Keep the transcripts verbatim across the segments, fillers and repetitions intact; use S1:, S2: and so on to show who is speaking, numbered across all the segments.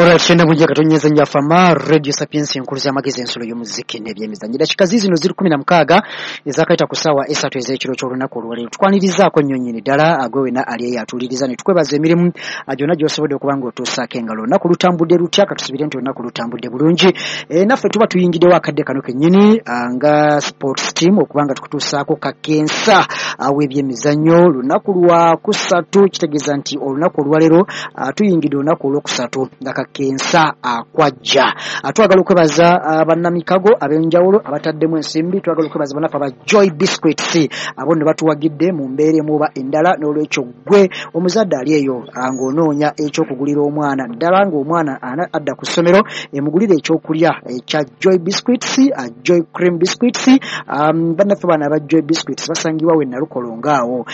S1: Olwakenda bujja katonyeza njafama Radio Sapiens enkulu z'amagezi ensulo y'omuziki n'ebyemizannyo. Dakika zino ziri kumi na mukaaga ezakaita ku ssaawa esatu ez'ekiro ky'olunaku olwaleero. Tukwanirizaako nnyo nnyini ddala agwe wena ali eyo atuuliriza ne tukwebaza emirimu gyonna gy'osobodde okuba ng'otuusaako engalo. Olunaku lutambudde lutya? Katusubire nti olunaku lutambudde bulungi. E, naffe tuba tuyingiddewo akadde kano kennyini nga sports team okuba nga tukutuusaako kakensa w'ebyemizannyo. Lunaku lwa kusatu, kitegeeza nti olunaku olwaleero tuyingidde olunaku olwokusatu nga kakensa akwajja. Twagala okwebaza bannamikago ab'enjawulo abataddemu ensimbi. Twagala okwebaza bannaffe aba Joy Biscuits abo nno batuwagidde mu mbeera emu oba endala. N'olwekyo ggwe omuzadde ali eyo ng'onoonya ekyokugulira omwana, ddala ng'omwana adda ku ssomero, emugulire ekyokulya ekya Joy Biscuits, Joy Cream Biscuits. Bannaffe bano aba Joy Biscuits basangibwa we Nalukolongo awo,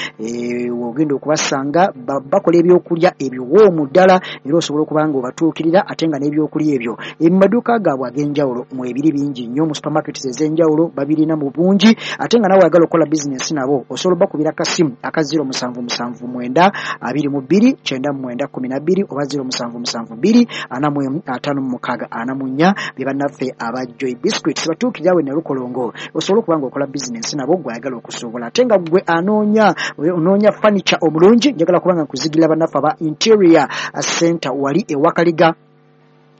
S1: w'ogenda okubasanga. Bakola ebyokulya ebiwoomu ddala era osobola okuba nga obatuukirira, ate nga n'ebyokulya ebyo mu maduuka gaabwe ag'enjawulo mwebiri bingi nnyo, mu supermarkets ez'enjawulo babirina mu bungi. Ate nga nawe oyagala okukola bizinensi nabo, osobola obakubira akasimu aka zero musanvu musanvu mwenda abiri mu bbiri kyenda mu mwenda kumi na bbiri oba zero musanvu musanvu bbiri ana mu emu ataano mu mukaaga ana mu nnya. Be bannaffe aba Joy Biscuits, batuukirira we Nalukolongo, osobola okuba nga okola bizinensi nabo gwe ayagala okusuubula. Ate nga gwe anoonya onoonya furniture omulungi, njagala kuba nga nkuzigira bannaffe aba Interior Center wali e Wakaliga.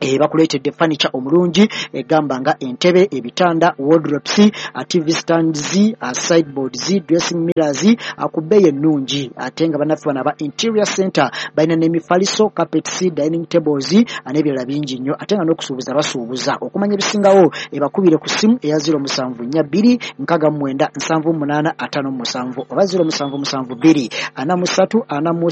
S1: E, bakuleetedde furniture omulungi egamba nga entebe, ebitanda, wardrobes, T V stands, sideboards, dressing mirrors ku bbeeyi ennungi. Ate nga bannaffe bano aba Interior Center balina n'emifaliso, carpets, dining tables n'ebirala bingi nnyo. Ate nga n'okusuubuza basuubuza. Okumanya ebisingawo ebakubire ku ssimu eya zero musanvu nnya bbiri nkaaga mu mwenda nsanvu mu munaana ataano mu musanvu oba zero musanvu musanvu bbiri ana mu ssatu ana mu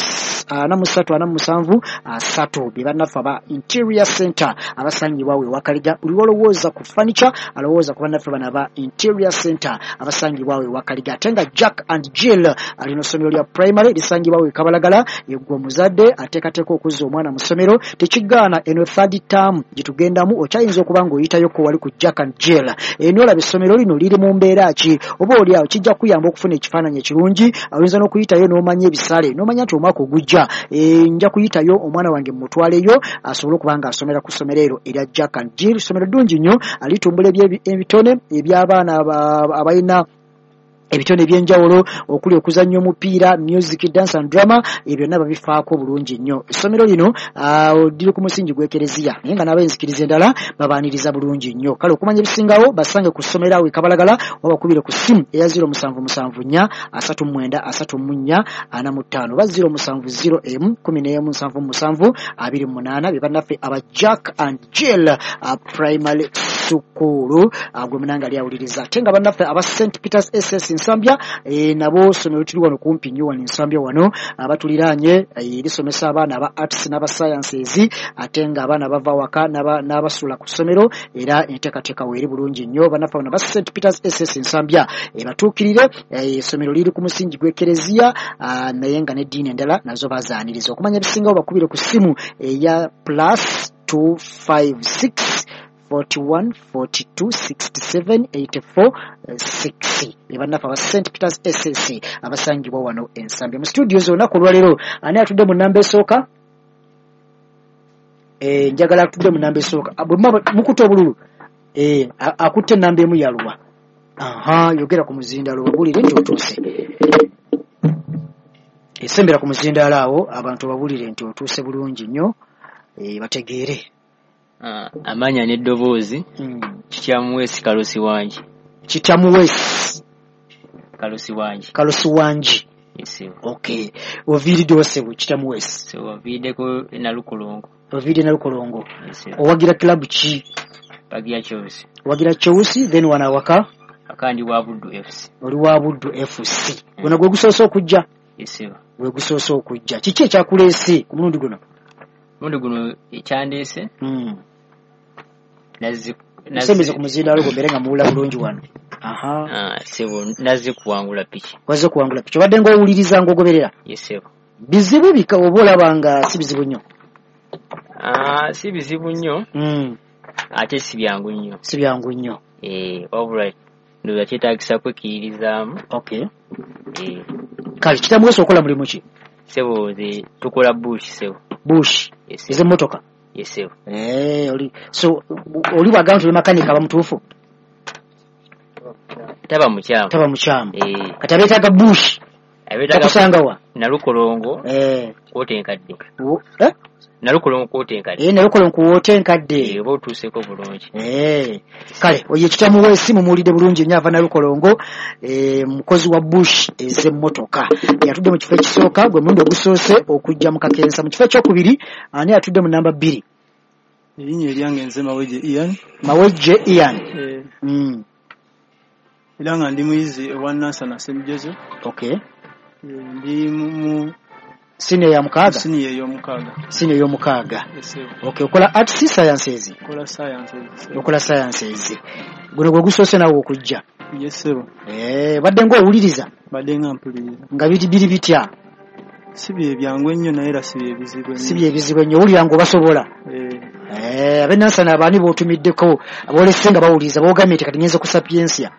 S1: ssatu ana mu musanvu asatu. Be bannaffe aba Interior Center abasangibwa we Wakaliga. Buli lw'olowooza ku furniture, alowooza ku bannaffe bano aba Interior Center abasangibwa we Wakaliga. Ate nga Jack and Jill alina ssomero lya primary lisangibwa we Kabalagala. Yeggwe omuzadde ateekateeka okuzza omwana mu ssomero, tekigaana eno third term gye tugendamu okyayinza okuba ng'oyitayoko wali ku Jack and Jill eno olaba essomero lino liri mu mbeera ki, oba oli awo kijja kuyamba okufuna ekifaananyi ekirungi. Oyinza n'okuyitayo n'omanya ebisale n'omanya nti omwaka ogujja nja kuyitayo omwana wange mumutwaleyo asobole okuba ng'asomera ku ssomero eryo erya Jack and Jill. Ssomero ddungi nnyo, alitumbula ebitone eby'abaana abalina ebitone ebyenjawulo okuli okuzannya omupiira, music, dance and drama, ebyo byonna babifaako bulungi nnyo. Essomero lino liri ku musingi gw'ekereziya, naye nga n'ab'enzikiriza endala babaaniriza bulungi nnyo. Kale okumanya ebisingawo basange ku ssomero awo e Kabalagala oba bakubire ku ssimu eya zero musanvu musanvu nnya asatu mu mwenda asatu mu nnya ana mu ttaano oba zero musanvu zero emu kumi n'emu nsanvu mu musanvu abiri mu munaana. Be bannaffe aba Jack and Jill Primary School gwe munanga ali awuliriza. Ate nga bannaffe aba Saint Peters S S Nsambya, e, nabo ssomero tuli wano kumpi nnyo wano Nsambya wano abatuliraanye, e, lisomesa abaana aba arts n'aba sciences, ate nga abaana bava waka n'abasula ku ssomero era enteekateeka weeri bulungi nnyo. Bannaffe bano aba Saint Peters S S Nsambya ebatuukirire. Essomero liri ku musingi gw'ekereziya, naye nga n'eddiini endala nazo bazaaniriza. Okumanya ebisingawo bakubire ku ssimu eya plus two five six forty-one forty-two sixty-seven eighty-four six. Bannaffe aba Saint Peters S S abasangibwa wano Ensambya. Mu studios olunaku olwaleero ani atudde mu namba esooka? e, njagala atudde mu namba esooka mukutte obululu. e, akutte enamba emu yaluwa? Aha, yogera ku muzindaalo babulire nti otuuse. Esembera ku muzindaalo awo abantu babulire nti otuuse bulungi nnyo, e, bategeere.
S2: Amanya n'eddoboozi,
S1: mm.
S2: Kityamuweesi Kalusi wangi.
S1: Kityamuweesi
S2: Kalusi wangi.
S1: Kalusi wangi.
S2: Yes.
S1: Okay, oviiriddewo ssebo Kityamuweesi?
S2: So oviiriddeko Nalukolongo.
S1: Oviiridde Nalukolongo.
S2: Yes.
S1: Owagira club ki?
S2: Pagira Chelsea.
S1: Owagira Chelsea. Then wano awaka?
S2: Akandi wa Buddu F C.
S1: Oli wa Buddu F C. Guno gwe gusoose okujja?
S2: Yes.
S1: Gwe gusoose okujja. Kiki ekyakuleese ku mulundi guno?
S2: Mulundi guno ekyandeese
S1: mm.
S2: nazze
S1: Nsembeze ku muzindaalo gwo mbeere nga muwula bulungi wano. Aha.
S2: Ah, sebo, nazze kuwangula piki.
S1: Wazze kuwangula piki. Obadde ng'owuliriza ng'ogoberera?
S2: Yes, sebo.
S1: Bizibu bika oba olaba nga si bizibu nnyo?
S2: Ah, si bizibu nnyo.
S1: Mm.
S2: Ate si byangu nnyo.
S1: Si byangu nnyo.
S2: Eh, wabula ndowooza kyetaagisa kwekkiririzaamu.
S1: Okay.
S2: Eh.
S1: Kale Kitamuweesi, okola mulimu ki?
S2: Sebo, nze tukola bush, sebo.
S1: Bush?
S2: Yes.
S1: Ez'emmotoka?
S2: Yes sir.
S1: Eh oli so oli bwagamba nti oli makanika aba mutuufu?
S2: Taba mukyamu.
S1: Taba mukyamu.
S2: Eh.
S1: Kati abeetaaga bush.
S2: Abeetaaga
S1: bakusanga wa?
S2: Nalukolongo.
S1: Eh.
S2: Kwote enkadde.
S1: Eh?
S2: Nalukolongo kwote enkadde.
S1: Eh Nalukolongo kwote enkadde.
S2: Eh oba otuuseeko bulungi.
S1: Eh. Kale oyo ekitamu w'essimu muwulidde bulungi nnyo ava Nalukolongo, eh mukozi wa bush ez'emmotoka. Yatudde mu kifo ekisooka gwe mulundi ogusoose okujja mu kakensa. Mu kifo ekyokubiri ani atudde mu namba bbiri?
S3: Erinnya eryange nze Mawejje Ian.
S1: Mawejje Ian.
S3: Eh.
S1: Mm.
S3: Era nga ndi muyizi ewa Nansana Saint Joseph.
S1: Okay.
S3: Ndi mu
S1: senior ya mukaaga.
S3: Senior y'omukaaga.
S1: Senior y'omukaaga.
S3: Yes,
S1: okay, okola arts sciences.
S3: Okola sciences.
S1: Okola sciences. Guno gwe gusoose nawe okujja.
S3: Yes sir.
S1: Eh, badde ng'owuliriza?
S3: Badde nga mpuliriza.
S1: Nga biri biri bitya?
S3: Si bye byangu ennyo naye era si bye bizibu ennyo.
S1: Si bye bizibu ennyo, owulira ng'obasobola.
S3: Eh.
S1: Eh, ab'e Nansana abaani b'otumiddeko aboolese nga bawuliriza b'ogambye nti kati ngenze ku Sapientia.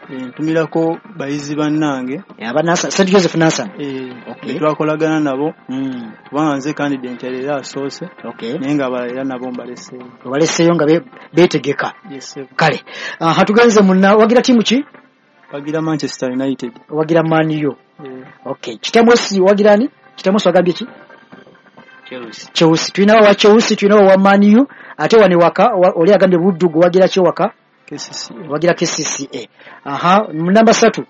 S3: Ntumirako bayizi bannange.
S1: Aba Nansana, Saint Joseph Nansana.
S3: Eh,
S1: okay.
S3: Twakolagana nabo.
S1: Mm.
S3: Kubanga nze candidate era asoose.
S1: Okay.
S3: Naye nga abalala era nabo mbaleseeyo.
S1: Obaleseeyo nga beetegeka.
S3: Yes sir.
S1: Kale. Ah, tugenze munna wagira tiimu ki?
S3: Wagira Manchester United.
S1: Wagira Man U.
S3: Yeah.
S1: Okay. Kitamwesi wagira ani? Kitamwesi wagambye ki?
S2: Chelsea.
S1: Chelsea. Tulinawo wa Chelsea, tulinawo wa Man U, ate wano waka oli agambye Buddu wagira ki waka?
S3: K C C A.
S1: Wagira K C C A. Aha, namba ssatu.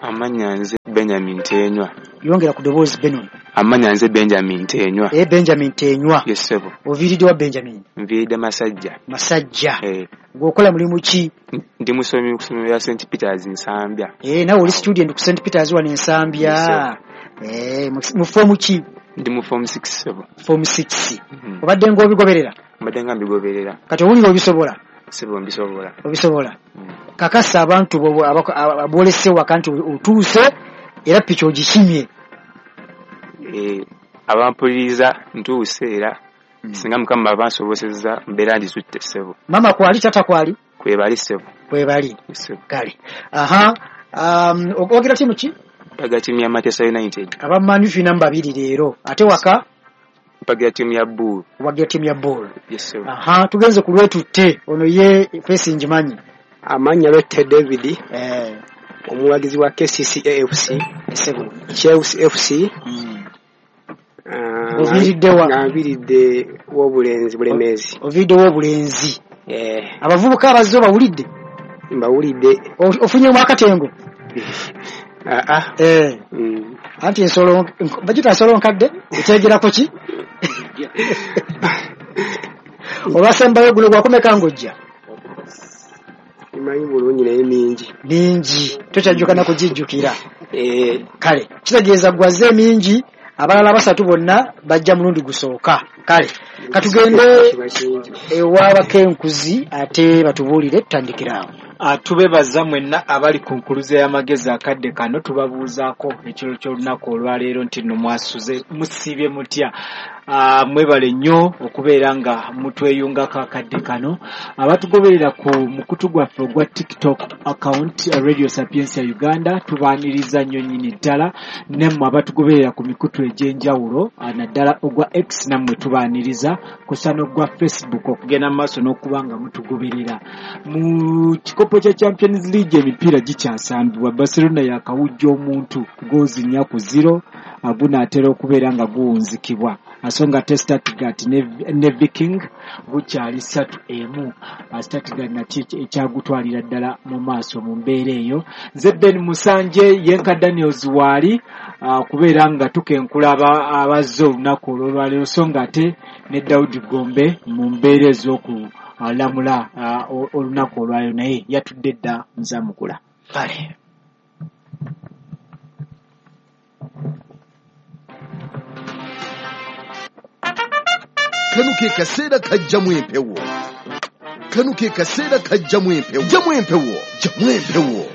S4: Amannya nze Benjamin Tenywa.
S1: Yongera ku ddoboozi Benon.
S4: Amannya nze Benjamin Tenywa.
S1: Eh Benjamin Tenywa.
S4: Yes sebo.
S1: Oviiridde wa Benjamin?
S4: Nviiridde Masajja.
S1: Masajja.
S4: Eh.
S1: Ng'okola mulimu ki?
S4: Ndi musomi ku ssomero lya Saint Peters Nsambya.
S1: Eh nawe oli student ku Saint Peters wano Nsambya.
S4: Yes,
S1: eh mu form ki?
S4: Ndi mu form six sebo.
S1: Form six.
S4: Mm.
S1: Obadde ng'obigoberera?
S4: Mbadde nga mbigoberera.
S1: Kati owulira obisobola?
S4: Sebo mbisobola.
S1: Obisobola.
S4: Mm.
S1: Kakasa abantu aboolese waka nti otuuse era piki ogikimye.
S4: Eh, abampuliriza ntuuse era
S1: mm.
S4: Singa Mukama abansobosezza mbeera ndisutte ssebo.
S1: Mama kwali tata kwali?
S4: Kwebali ssebo.
S1: Kwebali.
S4: Ssebo.
S1: Kale. Aha, um, owagira tiimu ki?
S4: Mpagira tiimu ya Manchester United.
S1: Aba Man U tulina babiri leero. Ate waka?
S4: Mpagira tiimu ya Bull.
S1: Wagira tiimu ya Bull.
S4: Yes sir.
S1: Aha, tugenze ku Lwetutte. Ono ye face njimanyi.
S5: Amannya Lwette David.
S1: Eh.
S5: Omuwagizi wa K C C A F C.
S1: Ssebo.
S5: Chelsea F C.
S1: Mm. Oviiridde wa?
S5: Nviiridde w'obulenzi Bulemeezi.
S1: Oviiridde w'obulenzi.
S5: Eh.
S1: Abavubuka abazze obawulidde?
S5: Mbawulidde.
S1: Ofunyemu akatengo?
S5: Ah ah.
S1: Eh.
S5: Mm.
S1: Anti ensolo bagita ensolo nkadde etegerako ki? Olwasembayo guno gwakomeka ng'ojja?
S5: Simanyi bulungi naye mingi.
S1: Mingi. Tokyajjuka na kugijjukira.
S5: Eh.
S1: Kale kitegeeza gwazze mingi abalala basatu bonna bajja mulundi gusooka. Kale katugende ew'abakenkuzi ate batubuulire tutandikire awo.
S6: Tubebaza mwenna abali ku nkuluze y'amagezi akadde kano tubabuuzaako ekiro ky'olunaku olwaleero nti nno mwasuze musiibye mutya. Mwebale nnyo okubeera nga mutweyungako akadde kano. Abatugoberera ku mukutu gwaffe ogwa TikTok account Radio Sapientia Uganda tubaaniriza nnyo nnyini ddala, nammwe abatugoberera ku mikutu egy'enjawulo naddala ogwa X nammwe tubaaniriza kusa n'ogwa Facebook okugenda mu maaso n'okuba nga mutugoberera. Mu kikopo kya Champions League emipiira gikyasambibwa. Barcelona yakawujja omuntu goozi nnya ku zero, gunaatera okubeera nga guwunzikibwa. Asonga ate Stuttgart ne, ne Viking gukyali ssatu emu. Stuttgart nakyo ekyagutwalira ddala mu maaso mu mbeera eyo. Nze Ben Musanje yenka Daniels waali okubeera nga tukenkula abazze olunaku olwolwaleero, so nga ate ne Daudi Gombe mu mbeera ez'okulamula olunaku olwaleero naye yatudde dda nzamukula.
S1: Kale.
S7: Kano ke kaseera kajjamu empewo. Kano ke kaseera kajjamu empewo. Jjamu empewo. Jjamu empewo.